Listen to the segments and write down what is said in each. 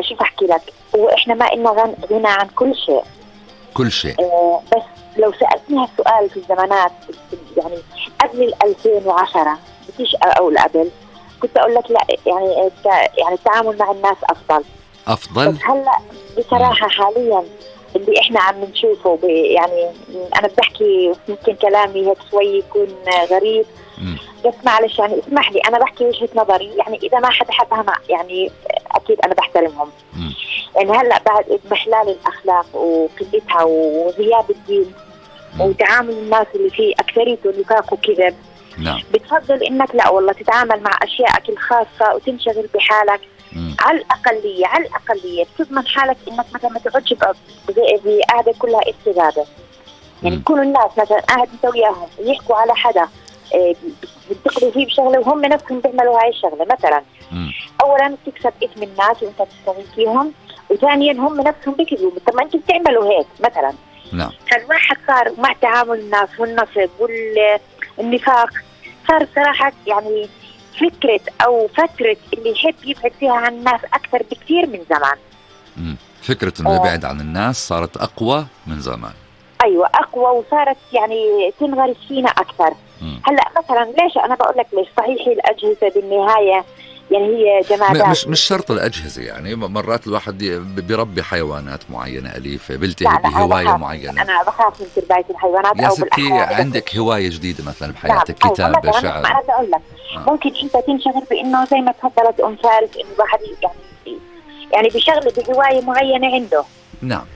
شو بحكي لك، وإحنا ما إلنا غنى عن كل شيء. كل شيء. بس لو سألتني هالسؤال في الزمانات يعني قبل 2010 بديش أقول قبل، كنت أقول لك لا، يعني التعامل مع الناس أفضل. بس هلأ بصراحة حاليا اللي إحنا عم نشوفه يعني أنا بحكي يمكن كلامي هيك شوي يكون غريب، بس معلش يعني اسمح لي أنا بحكي وجهة نظري. يعني إذا ما حدا حبها يعني أكيد أنا بحترمهم. يعني هلأ بعد إضمحلال الأخلاق وقلتها وغياب الدين وتعامل الناس اللي فيه أكثريته نفاق وكذب، بتفضل إنك لا والله تتعامل مع أشيائك الخاصة وتنشغل بحالك. على الأقلية بتضمن حالك إنك مثلا ما تقعدش بقعدة كلها استجابة. يعني يكونوا الناس مثلا قاعد انت وياهم يحكوا على حدا بينتقدوا فيه بشغله وهم نفسهم بيعملوا هاي الشغله مثلا. اولا بتكسب اسم الناس وانت بتشتغل فيهم، وثانيا هم نفسهم بيكذبوا. طب ما انتم بتعملوا هيك مثلا. فالواحد صار مع تعامل الناس والنصب والنفاق صار صراحه يعني فكره او فتره اللي يحب يبعد فيها عن الناس اكثر بكثير من زمان. فكره انه يبعد عن الناس صارت اقوى من زمان. ايوه اقوى، وصارت يعني تنغرس فينا اكثر. هلا مثلا ليش انا بقول لك ليش؟ صحيح الاجهزه بالنهايه يعني هي جمادات، مش شرط الاجهزه. يعني مرات الواحد بيربي حيوانات معينه اليفه، بيلتهي بهوايه معينه. انا بخاف من تربيه الحيوانات يا ستي عندك هوايه جديده مثلا بحياتك، كتابه، شعر. انا بقول لك ممكن انت تنشغل بانه زي ما تفضلت ام فارس انه الواحد يعني بشغله بهوايه معينه عنده.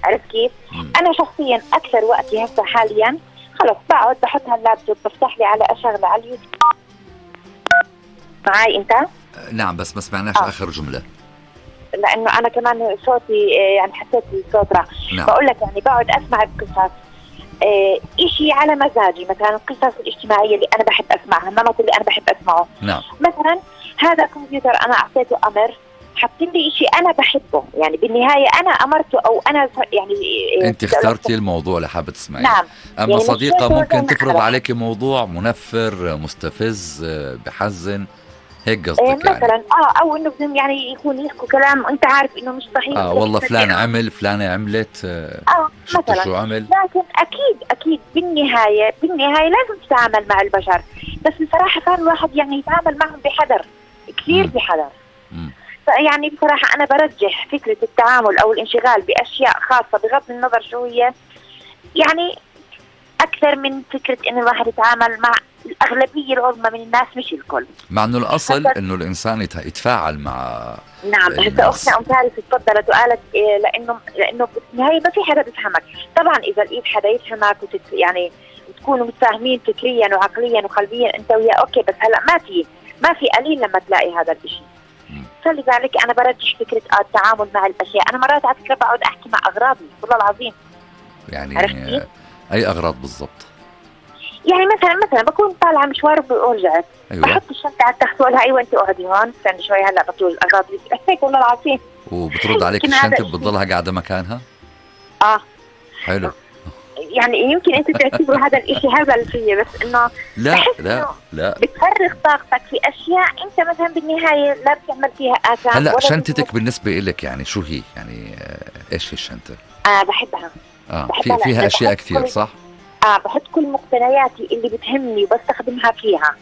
عرفت كيف؟ أنا شخصيا أكثر وقتي هسه حاليا خلص بقعد بحط هاللابتوب بفتح لي على أشغله على اليوتيوب. معي أنت؟ نعم بس ما سمعناش آخر جملة. لأنه أنا كمان صوتي يعني حسيت الصوت راح. بقول لك يعني بقعد أسمع القصص إشي على مزاجي، مثلا القصص الاجتماعية اللي أنا بحب أسمعها، النمط اللي أنا بحب أسمعه. مثلا هذا كمبيوتر أنا أعطيته أمر حاطين لي شيء أنا بحبه، يعني بالنهاية أنا أمرته أو أنا يعني أنت اخترتي الموضوع اللي حابة تسمعيه. أما يعني صديقة ممكن تفرض عليك موضوع منفر مستفز بحزن، هيك قصدك مثلا يعني. أو إنه يعني يكون يحكوا كلام أنت عارف إنه مش صحيح. والله فلان عمل فلانة عملت مثلا شو عمل. لكن أكيد بالنهاية لازم تتعامل مع البشر، بس بصراحة صار الواحد يعني يتعامل معهم بحذر كثير بحذر. يعني بصراحة أنا برجح فكرة التعامل أو الانشغال بأشياء خاصة بغض النظر شو هي، يعني أكثر من فكرة إن الواحد يتعامل مع الأغلبية العظمى من الناس مش الكل. مع إنه الأصل إنه الإنسان يتفاعل مع. نعم هسه أختنا أم فارس اتفضلت وقالت لأنه بالنهاية ما في حدا بيفهمك. طبعا إذا لقيت حدا يفهمك يعني تكونوا متفاهمين فكريا وعقليا وقلبيا أنت وياه أوكي، بس هلأ ما في قليل لما تلاقي هذا الشيء. فلذلك أنا برجح فكرة التعامل مع الأشياء. أنا مرات على فكرة بقعد أحكي مع أغراضي والله العظيم. يعني أي أغراض بالضبط؟ يعني مثلا بكون طالعة مشوار ورجعت. أيوة. بحط الشنطة على التخت وأقولها أيوة أنت اقعدي هون استني شوي هلا بطول الأغراض اللي هيك والله العظيم. وبترد عليك الشنطة بتضلها قاعدة مكانها؟ حلو. يعني يمكن انت تعتبر هذا الاشي هبل فيه، بس انه لا بتفرغ طاقتك في اشياء انت مثلا بالنهايه لا بتعمل فيها اثام. هلا شنطتك بالنسبه لك يعني شو هي؟ يعني ايش هي الشنطه؟ بحبها. فيها اشياء كثير صح؟ بحط كل مقتنياتي اللي بتهمني وبستخدمها فيها.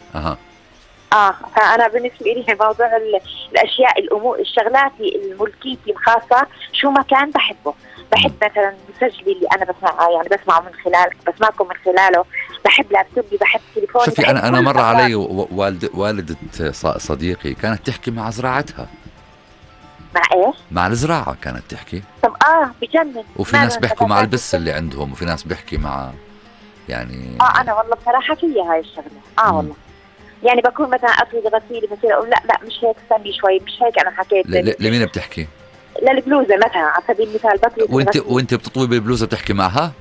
فانا بالنسبه لي موضوع الاشياء الامور الشغلاتي الملكيتي الخاصه شو ما كان بحبه. بحب مثلا مسجلي اللي انا بسمعه من بسمعكم من خلاله. بحب لابتوبي، بحب تليفوني. شوفي انا مر علي والدة صديقي كانت تحكي مع زراعتها. مع ايش؟ مع الزراعه كانت تحكي. طب بجنن. وفي ناس بيحكوا مع البس اللي عندهم، وفي ناس بيحكي مع يعني انا والله بصراحه فيها هاي الشغله. والله يعني بكون مثلا افرد غسيلي بصير اقول لا مش هيك استني شوي مش هيك انا حكيت. لمين بتحكي؟ للبلوزه مثلا على سبيل المثال بطلب. وانت بتطوي بالبلوزه بتحكي معها؟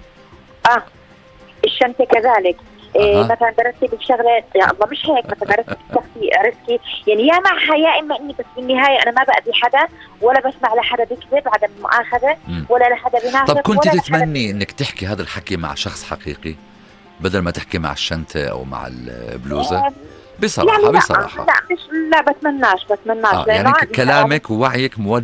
الشنطه كذلك. مثلا برتب الشغله يا الله مش هيك مثلا برتب شخصي. عرفت كيف؟ يعني يا معها يا اما اني بس بالنهايه انا ما باذي حدا ولا بسمع لحدا بكذب عدم مؤاخذه ولا لحدا بينافق. طب كنت تتمني انك تحكي هذا الحكي مع شخص حقيقي بدل ما تحكي مع الشنطه او مع البلوزه؟ بصراحه يعني لا بتمناش يعني كلامك ووعيك موجه